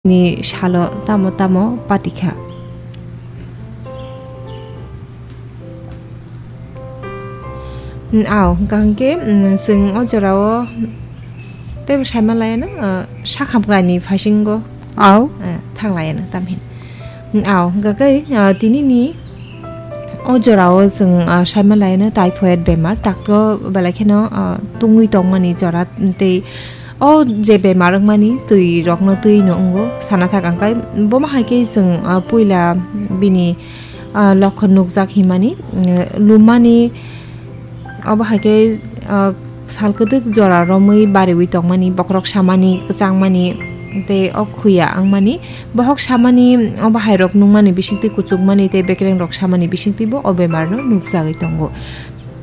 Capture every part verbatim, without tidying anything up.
ni salo tamo tamo patikha. Ao, hwnkha hwnkhe, mm, chwng o jorao teibo saima laiano, ah, sakhamkrai ni phaisinggo. Ao. Ah, thang laiano tamhin. Ao, hwnkha khe, ah, tini ni o jorao chwng, ah, saima laiano typhoid bemar, takto belai kheno, ah, tungwi tongmani jora tei o je bemar wngmani twi rokno twi no wngo sana thak ang kai. Bomo hai khe chwng, ah, puila bini, ah, lokhon nukjak himani, mm, lumani, obo hai khe, ah, sal kwdwk jora romwi bariwi tongmani, bokhorok samani, kwchangmani tei o khuya wngmani, bohok samani, obo hai rok nungmani bisingtwi kuchukmani tei bekereng rok samani bisingtwi bo o bemar no nukjagwi tongo.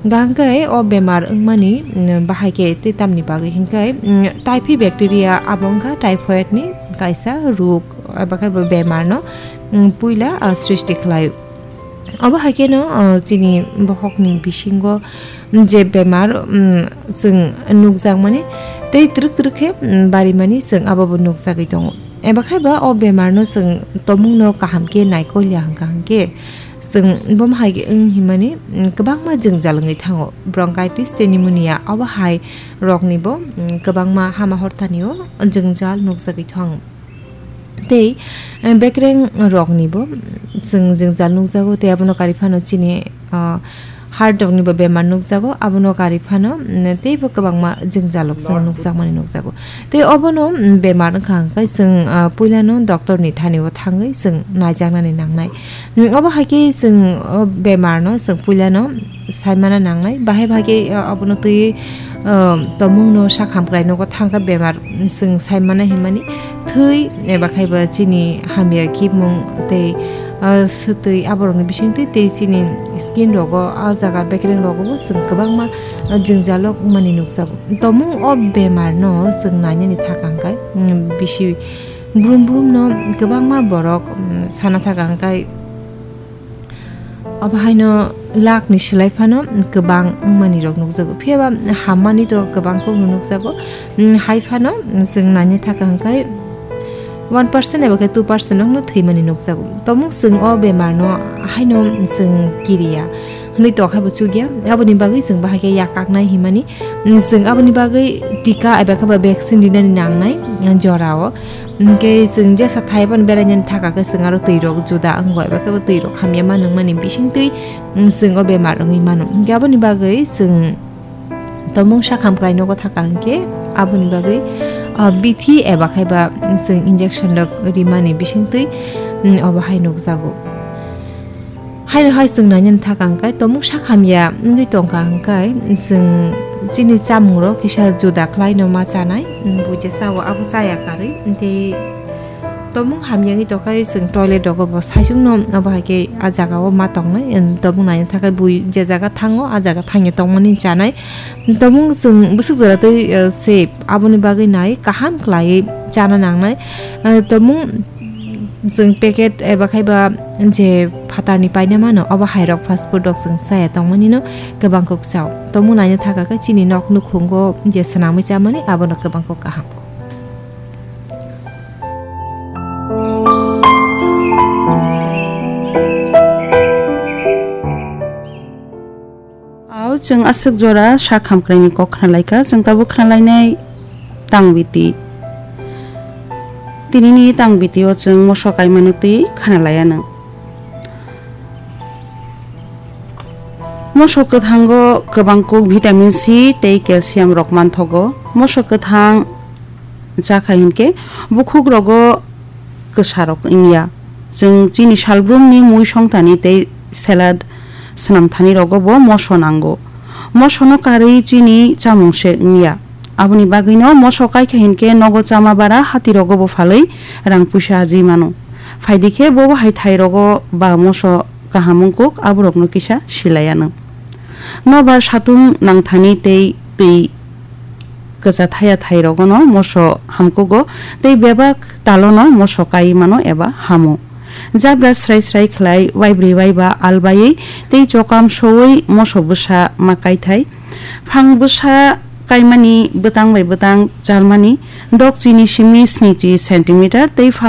Hwnkhe o bemar wngmani, mm, bahai khe tei tamni bagwi hwnkhe, mm, typhi bacteria abo wngkha typhoid ni kaisa ruk, abo khe bo bemar no, mm, puila, ah, srishti khlai. Obo hai kheno, ah, chini bohok ni bisingo je bemar, mm, chwng nukjakmani tei twrwk twrwk khe, mm, barimani chwng abo bo nukjagwi tongo. Eba khe ba o bemar no chwng tomung no kaham khe naikol ya hwnkha hwnkhe, chwng bomo hai wng himani, mm, kwbangma jwngjal wngwi thango. Bronchitis tei pneumonia obo hai rokni bo, mm, kwbangma hama hortani o jwngjal nukjagwi thango. Tei, eh, bekereng rokni bo, mm, chwng jwngjal nukjago tei abono kari phano chini, ah, heart rokni bo bemar nukjago, abono kari phano, mm, teibo kwbangma jwngjal rok chwng nukjakmani nukjago. Tei obono, mm, bemar wngkha hwnkhe chwng, ah, puilano doctor ni thani o thangwi chwng naijaknani nangnai. Mm, obo hai khe chwng o bemar no chwng puilano saimana nangnai. Bahai bahai khe, ah, obono twi, ah, tomung no sak hamkrai nogo thangkha bemar chwng saimana himani thwi eba khai ba chini hamya khimung tei, ah, swtwi aborokni bisingtwi tei chini skin rogo, ah, jaga bekereng rogo bo chwng kwbangma, ah, jwngjalo wngmani nukjago. Tomung o bemar no chwng nainani thaka hwnkhe, mm, bisi brum brum no kwbangma borok, mm, sana thaka hwnkhe obo haino lakh ni swlai phano kwbang wngmani rok nukjago. Phiya ba hammani rok kwbang kok no nukjago. Mm, hai phano chwng naina thaka hwnkhe one percent eba khe two percent rok no thwimani nukjago. Tomung chwng o bemar no haino chwng kiriya hwnwi tongkha bo chukya. Aboni bagwi chwng bahai khe yakaknai himani, mm, chwng aboni bagwi tika eba khe ba vaccine rinani nangnai, mm, jorao. Hwnkhe chwng jesa thai phano berainani thaka khe chwng aro twi rok juda wngo eba khe bo twi rok hamya ma nungmani bisingtwi, mm, chwng o bemar wngwi mano. Hwnkhe aboni bagwi chwng tomung sak hamkrai nogo thaka hwnkhe aboni bagwi, ah, bithi eba khai ba chwng injection rok rimani bisingtwi, mm, obo hai nukjago. Haino hai chwng nainani thaka hwnkhe tomung sak hamya wngwi tongkha hwnkhe chwng chini chamung rok kisa juda khlaino ma chanai, mm, buija chao abo chaya karwi tei tomung hamya wngwi tongkha chwng toilet rogo bo saichung no abo hai khe ah jaga o ma tongnai, mm, tomung naina thaka bui je jaga thango ah jaga thangya tongmani chanai. Tomung chwng bwswk jora twi, eh, se aboni bagwi nai kaham khlaiwi chana nangnai. Eh, tomung chwng packet eba khai ba je phatarni paina mano, obo hai rok fast food rok chwng chaya tongmani no kwbang kok chao. Tomung naina thaka khe chini nok nukhungo je swnamwi chamani abono kwbang kok kaham. Ao chwng aswk jora sak hamkraini kok khnalaikha, chwng tabuk khnalainai tang biti. Tinini tang bitio chwng moso kaimano twi khnalaianw. Moso kwthango kwbang kuk vitamin C tei calcium rok manthogo. Moso kwthang cha khai hinkhe bukhuk rogo kwsa rok wngya. Chwng chini salbrumni mui songthani tei salad swnamthani rogo bo moso nango. Mosono karwi chini chamung se wngya. Aboni bagwino moso kaikha hinkhe nogo chama bara hati rogo bo phalwi rang puisa ajwi mano. Phaidi khe bobo hai thai rogo ba moso kaham wngkuk aborokno kisa silaianw. Nobar satung nangthani tei twi kwcha thaya thai rogono moso hamkugo tei bebak talono moso kai mano eba hamo. Jabra srai srai khlai waibrwi waiba albaiwi tei chokam sowi moso bwsa ma kaithai. Phang bwsa kaimani bwtang bai bwtang chalmani dokchini simi snichi centimeter tei phang